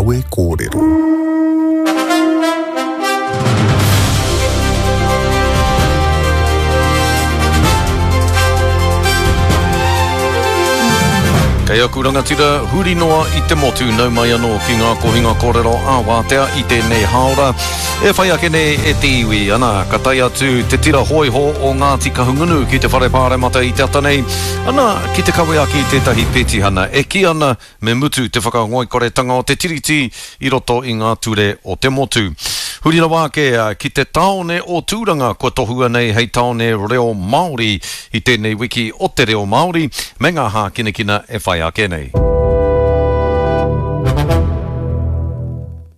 Kawe Kōrero. Kei aku rangatira huri noa i te motu nau mai anō ki ngā kohinga kōrero ā-wātea i tēnei hāora e whai ake nei e te iwi. Ana, ka tae atu te tira hōiho o Ngāti Kahungunu ki te Whare Pāremata i te ata nei, ana, ki te kawe ake i tētahi petihana e kī ana Me mutu te whakangoikoretanga o te Tiriti i roto i ngā ture o te motu. Huri rawa ake ki te tāone o Tūranga kua tohua nei hei tāone reo Māori i tēnei wiki o te reo Māori me ngā hākinakina e whai ake nei.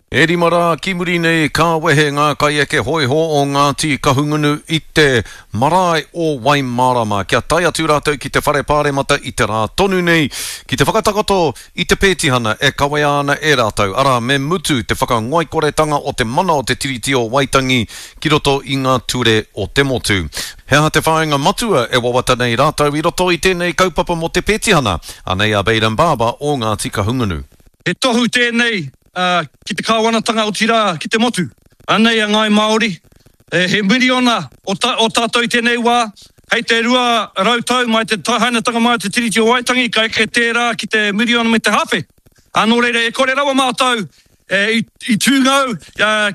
E rima rā ki muri nei ka wehe ngā kaieke hōiho o Ngāti Kahungunu i te marae o Waimārama kia tae atu rātou ki te whare pāremata i te rā tonu nei ki te whakatakoto i te pētihana e kawea ana e rātou, arā, me mutu te whakangoikoretanga o te mana o te Tiriti o Waitangi ki roto i ngā ture o te motu. He aha te whāinga matua e wawata nei rātou i roto i tēnei kaupapa mō te pētihana? Anei a Bayden Barber o Ngāti Kahungunu. He tohu tēnei ki te kāwanatanga otirā ki te motu. Anei a Ngāi Māori, he miriona o tātou i tēnei wā, hei te 200 tau mai te hainatanga mai o te Tiriti o Waitangi ka eke tērā ki te miriona me te hāwhe. Nō reira e kore rawa mātou i tūngou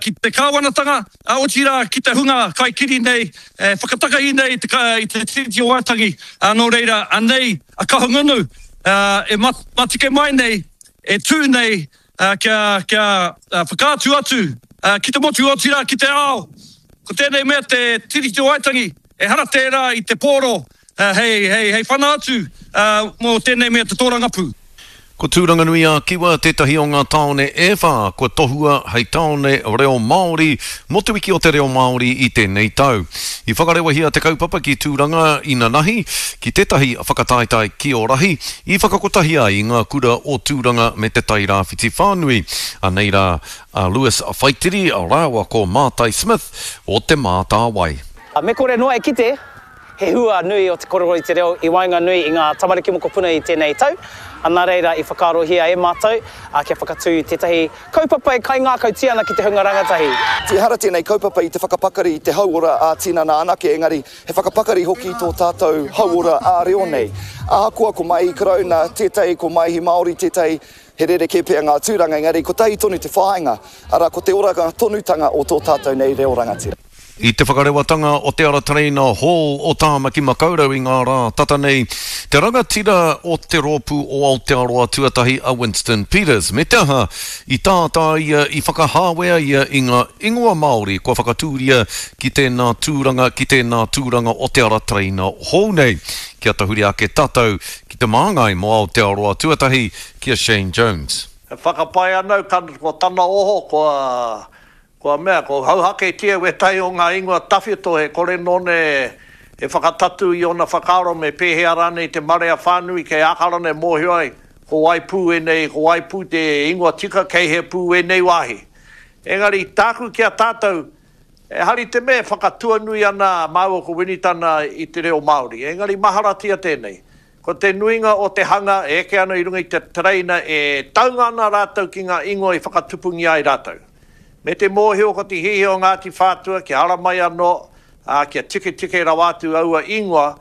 ki te kāwanatanga, otirā ki te hunga kaikiri nei, whakatakahi nei i te Tiriti o Waitangi. Nō reira anei a Kahungunu e matike mai nei e tū nei kia, kia whakaatu atu ki te motu, otirā ki te ao, ko tēnei mea te Tiriti o Waitangi, ehara tērā i te pōro hei, hei, hei whana atu mō tēnei mea te tōrangapū. Ko Tūranganui-a-Kiwa tētahi o ngā tāone e whā kua tohua hei tāone reo Māori mō Te Wiki o te Reo Māori i tēnei tau. I whakarewahia te kaupapa ki Tūranga inanahi, ki tētahi whakataetae kiorahi, I whakakotahi ai i ngā kura o Tūranga me Te Tairāwhiti whānui. Anei rā a Lewis Whaitiri rāua ko Mātai Smith o Te Mātāwai. Me kore noa e kite he hua nui o te korero i te reo i waenganui i ngā tamariki mokopuna i tēnei tau, nā reira i whakaarohia e mātou kia whakatū tētahi kaupapa e kaingākautia ana ki te hunga rangatahi. Ehara tēnei kaupapa i te whakapakari i te hauora ā-tinana anake, engari He whakapakari hoki i tō tātou hauora ā-reo nei. Ahakoa ko Maihi Karauna tētahi, ko Maihi Māori tētahi, he rerekē pea ngā tūranga, engari kotahi tonu te whāinga, arā, ko te oranga tonutanga o tō tātou nei reo rangatira. I te whakarewatanga o te ara tereina hou o Tāmaki Makaurau i ngā rā tata nei, te rangatira o te rōpū o Aotearoa Tuatahi a Winston Peters, me te aha, i tātā ia, i whakahāwea ia i ngā ingoa Māori kua whakatūria ki tēnā tūranga, ki tēnā tūranga o te ara tereina hou nei. Kia tahuri ake tātou ki te māngai mō Aotearoa tuatahi, ki a Shane Jones. E whakapae ana au ko tana oho kua kua mea, kua hauhaketia wētahi o ngā ingoa tawhito he kore nōna e whakatatū i ōna whakaaro me pēhea rānei te marea whānui kei Ākarana e mōhio ai ko wai pū ēnei, ko wai pū te ingoa tika kei hea pū ēnei wāhi. Engari tāku ki a tātou, Ehara i te mea e whakatuanui ana māua ko Winitana i te reo Māori, engari maharatia tēnei. Ko te nuinga o te hanga e eke ana i runga i te tereina e taunga ana rātou ki ngā ingoa i whakatupungia ai rātou. Me te mōhio ko te hiahia o Ngāti Whātua kia ara mai anō, ā, kia tiketike rawa atu aua ingoa,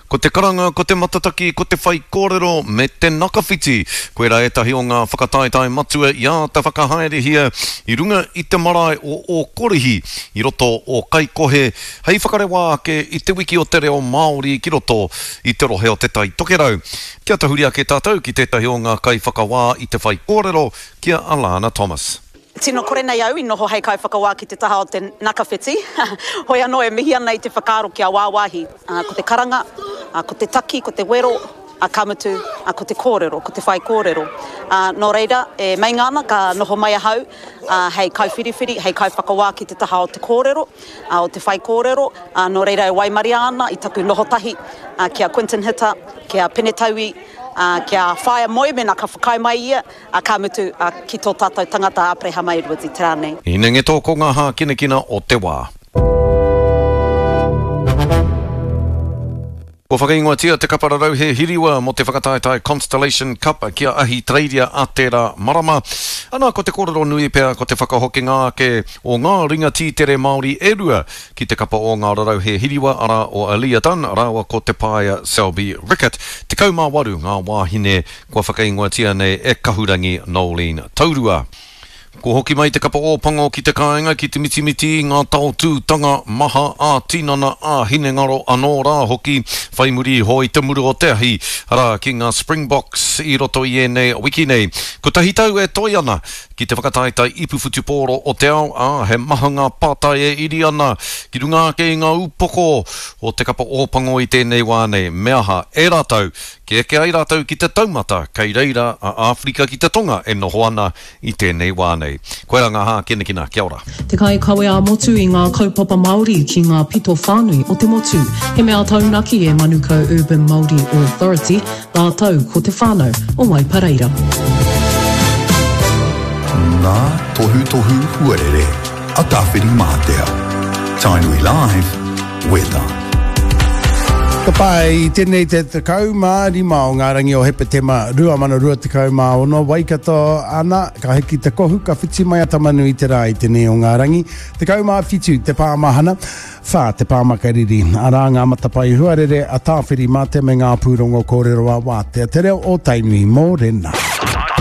Ko te karanga, ko te matataki, ko te whaikōrero me te nakawhiti, koirā ētahi o ngā whakataetae matua i āta whakahaerehia i runga i te marae o Ōkorihi i roto o Kaikohe hei whakarewa ake i te wiki o te reo Māori ki roto i te rohe o Te Tai Tokerau. Kia tahuri ake tātou ki tētahi o ngā kaiwhakawā i te whaikōrero, ki a Alana Thomas. Tino kore nei au i noho hei kaiwhakawā ki te taha o te nakawhiti, hoi anō e mihi ana i te whakaaro kia wāwāhi, ko te karanga, ko te taki, ko te wero, ka mutu, ko te kōrero, ko te whaikōrero. Nō reira, e meinga ana ka noho mai ahau hei kaiwhiriwhiri, hei kaiwhakawā ki te taha o te kōrero, o te whaikōrero, nō reira e waimaria ana i taku noho tahi ki a Quinton Hita, ki a Pene Taui, ki a Whaea Moe mēnā ka whakaae mai ia, Ā, ka mutu, ā, ki tō tātou tangata a Aperehama Edwards i te rā nei. Hinengeto ko ngā hākinakina o te wā. Kua whakaingoatia te kapa rarauhe hiriwa mō te whakataetae Constellation Cup ki a Ahitereiria a tērā marama. Ana, ko te kōrero nui pea ko te whakahokinga ake o ngā ringa tītere Māori e rua ki te kapa o ngā rarauhe hiriwa, arā, o Aliyah Dunn rāua ko Te Paea Selby Rickit. 18 ngā wāhine kua whakaingoatia nei e Kahurangi Noeline Taurua. Kua hoki mai te kapa Ōpango ki te kāinga ki te mitimiti i ngā taotūtanga maha ā-tinana, ā-hinengaro anō rā hoki, whai muri iho i te muru o te ahi, arā, ki ngā Springboks i roto i ēnei wiki nei. Kotahi tau e toe ana ki te whakataetae ipu whutupōro o te ao, ā, he maha ngā pātai e iri ana ki runga ake i ngā upoko o te kapa Ōpango i tēnei wā nei. Me aha e rātou kia eke ai rātou ki te taumata kei reira a Āwherika ki te Tonga e noho ana i tēnei wā nei. Koirā ngā hākinakina, kia ora. Te kaikawe ā-motu i ngā kaupapa Māori ki ngā pito whānui o te motu. He mea taunaki e Manukau Urban Māori Authority rātou ko te whānau o Waipareira. Ngā tohutohu huarere a Tāwhirimātea. Tainui Live, Weather. Ka pai, tēnei te 15 o ngā rangi o Hepetema 2026, Waikato ana, ka hiki te kohu, ka whiti mai a Tamanui te rā i tēnei o ngā rangi. 17 te pāmahana, whā te pāmakariri. Arā ngā matapae huarere a Tāwhirimātea me ngā pūrongo kōrero a Wātea, te reo o Tainui, mōrena.